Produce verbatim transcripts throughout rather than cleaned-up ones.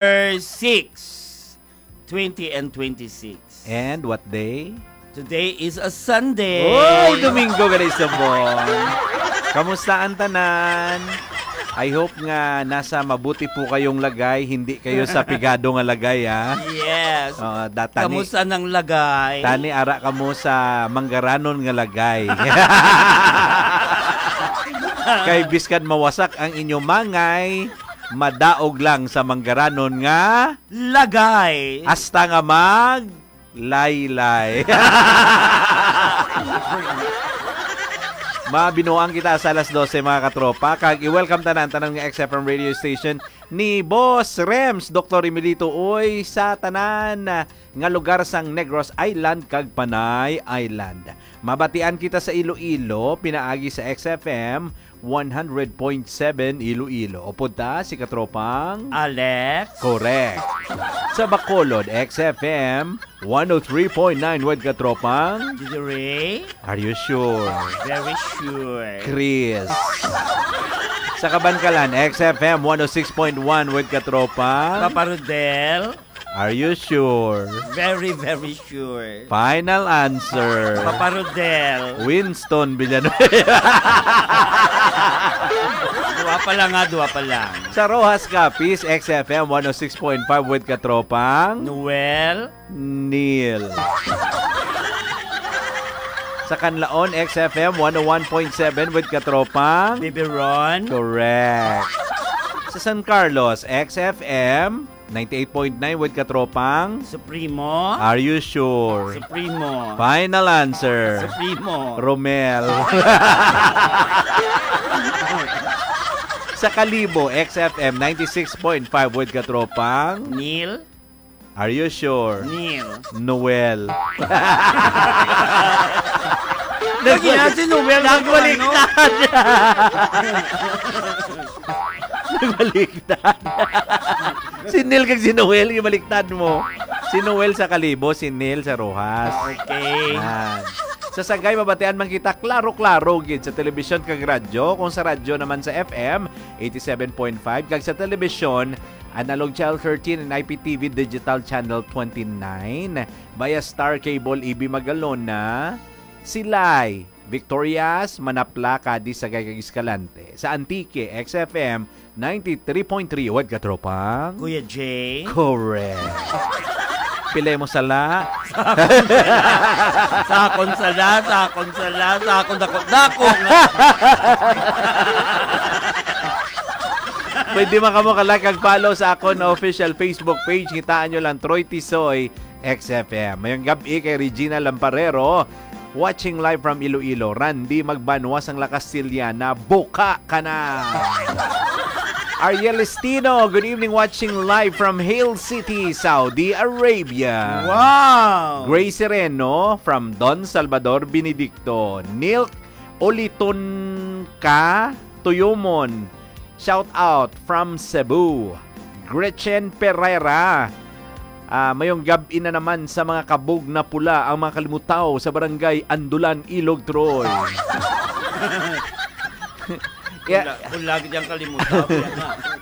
six, twenty and twenty-six. And what day? Today is a Sunday. Oy, Domingo, gani subong. Kamusta ang tanan? I hope nga nasa mabuti po kayong lagay, hindi kayo sa pigado nga lagay, ha? Yes. Oo, da-, tani, Kamusta nang lagay? Tani, ara kamo sa manggaranon nga lagay. Kay biskan mawasak ang inyong mangay, madaog lang sa manggaranon nga lagay. Hasta nga mag laylay. Mabinuang kita sa alas dose, mga katropa, kag i-welcome tanan, tanan nga X F M radio station ni Boss Rems, Doktor Emilito, uy, sa tanan nga lugar sang Negros Island kag Panay Island. Mabatian kita sa Iloilo, pinaagi sa X F M one hundred point seven Iloilo. Upod ta si katropang Alex. Correct. Sa Bacolod, X F M one oh three point nine with katropang Didi Ray. Are you sure? Very sure. Chris. Sa Kabankalan, X F M one oh six point one with katropang Papa Rodel. Are you sure? Very, very sure. Final answer. Papa Rodel. Winston Villanueva. Dua pa lang, ha, dua pa lang. Sa Roxas, Capiz, X F M one oh six point five with katropang Noel. Neil. Sa Canlaon, X F M one oh one point seven with katropang Bibiron. Correct. Sa San Carlos, X F M ninety-eight point nine with katropang Supremo. Are you sure? Supremo. Final answer. Supremo. Romel. Sa Kalibo, X F M ninety-six point five with katropang Neil. Are you sure? Neil. Noel. Lagi na si Noel, ano? Nagbaliktad. Nagbaliktad. Si Neil kag si Noel, gibaliktad mo. Si Noel sa Kalibo, si Neil sa Roxas. Okay. Yan. Sa Sagay, mabatian man kita klaro-klaro gid sa telebisyon kag radyo. Kung sa radyo naman sa F M, eighty-seven point five, kag sa telebisyon, Analog Channel thirteen and I P T V Digital Channel twenty-nine, via Star Cable, E B Magalona, Silay, Victorias, Manapla, Cadiz, Sagay, kag Escalante. Sa Antique, X F M ninety-three point three, wad katropang? Kuya Jay? Correct. Pilay mo sala? Sa akon sala, sa akon sala, sa akon dako-dako nga. Pwede man kamo ka-like kag follow sa akon official Facebook page. Kitaan nyo lang, Troy Tisoy, X F M. Mayong gab-i kay Regina Lamparero, watching live from Iloilo. Randy Magbanwa sang La Castellana, buka ka na. Ariel Estino, good evening, watching live from Hill City, Saudi Arabia. Wow! Grace Sereno from Don Salvador Benedicto. Nilk Uliton ka, Tuyumon. Shout out from Cebu. Gretchen Pereira. Ah, mayong gab-i na naman sa mga kabog na pula ang mga kalimutaw sa barangay Andulan, Ilog, Troy. Yeah. Pula, pula gid ang kalimutaw.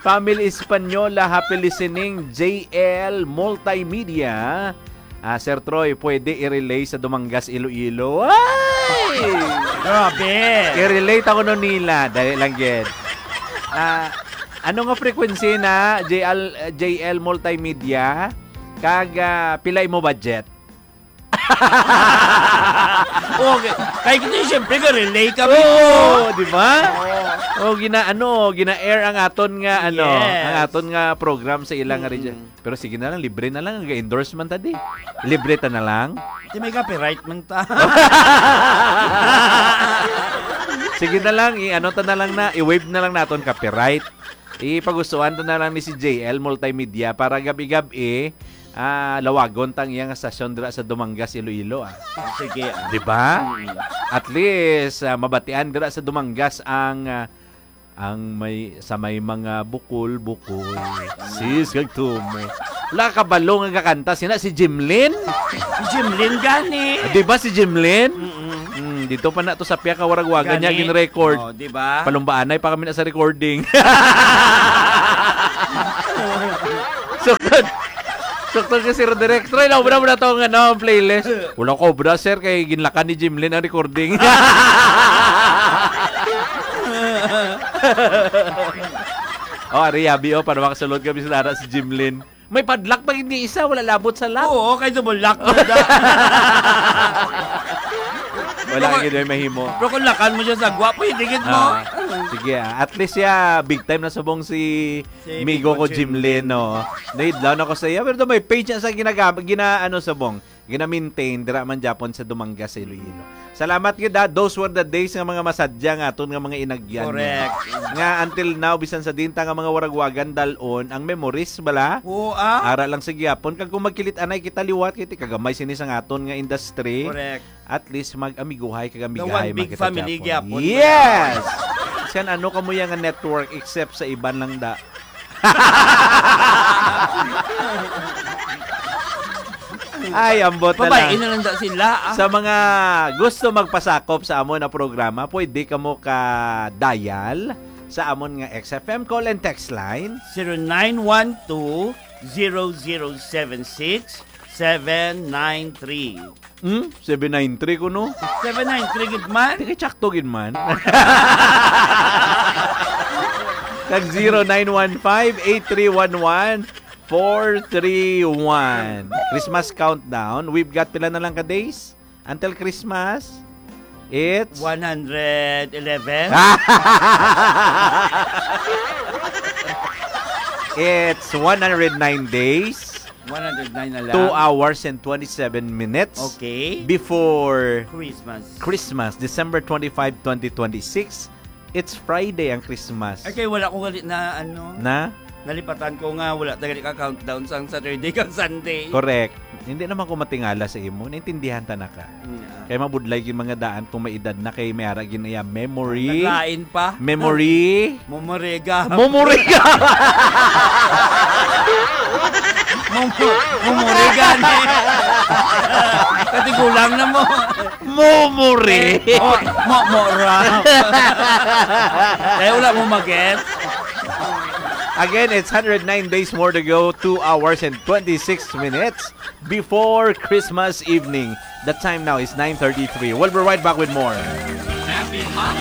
Family Española, happy listening. J L Multimedia. Ah, Sir Troy, pwede i-relay sa Dumangas, Iloilo. Ay! Grabe! I-relate ako nun nila. Dali lang, gid. Ah, ano nga frequency na, J L, J L Multimedia? Kag, ah, pila imo budget? Okay. Kay kita, siyempre, ka-relay kami. Oo, di ba? Oo. Oh, gina-, ano, gina-air ang aton nga, ano, Yes. ang aton nga program sa ilang Mm. region. Pero sige na lang, libre na lang, nag-endorse man ta di. Libre ta na lang. Di may copyright man ta. Sige na lang, i-ano ta na lang na, i-waive na lang naton copyright. Ipag-usuan ta na lang ni si J L Multimedia para gabi-gabi, ah, lawagon tang iyang stasyon dira sa Dumangas, Iloilo, ah. Sige, ah. Di ba? Mm. At least, ah, mabatian dira sa Dumangas ang, ah, Ang may, sa may mga bukol-bukol, sis kag tumo. Wala ka kabalo nga gakanta sina si Jimlin? Si Jimlin gani. Ah, di ba si Jimlin? Mm-mm. Mm, dito pa na to sa Pia Kawaragwagan niya Gani. gin-record. Oh, di ba? Palumbaanay pa kami na sa recording. Sukod. Sukod ka, Sir Direk. Try na, muna, muna to nga, no, ang playlist. Wala ko, bra, sir, kay ginlakan ni Jimlin ang recording. Oh, ari, yabi, oh, para makasulod kami sa nara si Jimlin. May padlock pa gid ni isa, wala labot sa lock. Oo, kay double lock na da. Wala Pero gid may mahimo. Pero kung lakan mo siya sa gwa, pwede gid mo. Ah, sige, ah. At least, ya, big time na subong si Si Migo Migo ko, Jimlin, Jimlin. No. Nahidlaw na ko sa iya, pero may page na sa ginagam-, gina-, ano, subong, gina-maintain, dira man Japon sa Dumangas, Iloilo. Salamat gid, ha. Those were the days nga mga masadya nga aton nga mga inagyan. Correct. Nga until now, bisan sa dinta nga mga waragwagan, dalon ang memories, bala? Oo, ah. Ara lang sa gihapon. Kag kung magkilit anay kita liwat, kay ti kagamay sini sa aton nga industry. Correct. At least mag-amiguhay kag The amigahay, one big mga kita family Japon. Gyapon. Yes! San ano kamo yang network except sa iban lang da? Ay, ambot na Babae lang. Na lang da sila, ah. Sa mga gusto magpasakop sa amo na programa, pwede kamo ka dial sa amon nga X F M call and text line. Zero nine one two, zero zero seven six, seven nine three. Hmm? Seven nine three ko, no? Seven nine three gid man? Di kay tsakto gid man. Kag zero nine one five, eight three one one, four three one. Christmas countdown. We've got pila na lang ka days until Christmas? It's One hundred eleven? It's one hundred nine days. One hundred nine na lang. Two hours and twenty-seven minutes Okay. before Christmas. Christmas, December twenty-five, twenty twenty-six. It's Friday ang Christmas. Ay, kay wala ko gali na, ano, Na? Nalipatan ko nga wala ta gali ka countdown sang Saturday kag Sunday. Correct. Hindi naman ko matingala sa imo. Naintindihan ta na ka. Yeah. Kay mabudlay gyud mga daan kung may edad na kay may ara gyud iya memory. Naglain pa. Memory. Momorega. Momorega. Momo-, momorega ni. Katigulang na mo. Momore. Oh, mo, mo, ra. Eh, wala mo mag-guess. Again, it's hundred nine days more to go, two hours and twenty-six minutes before Christmas evening. The time now is nine thirty-three. We'll be right back with more. Happy holidays!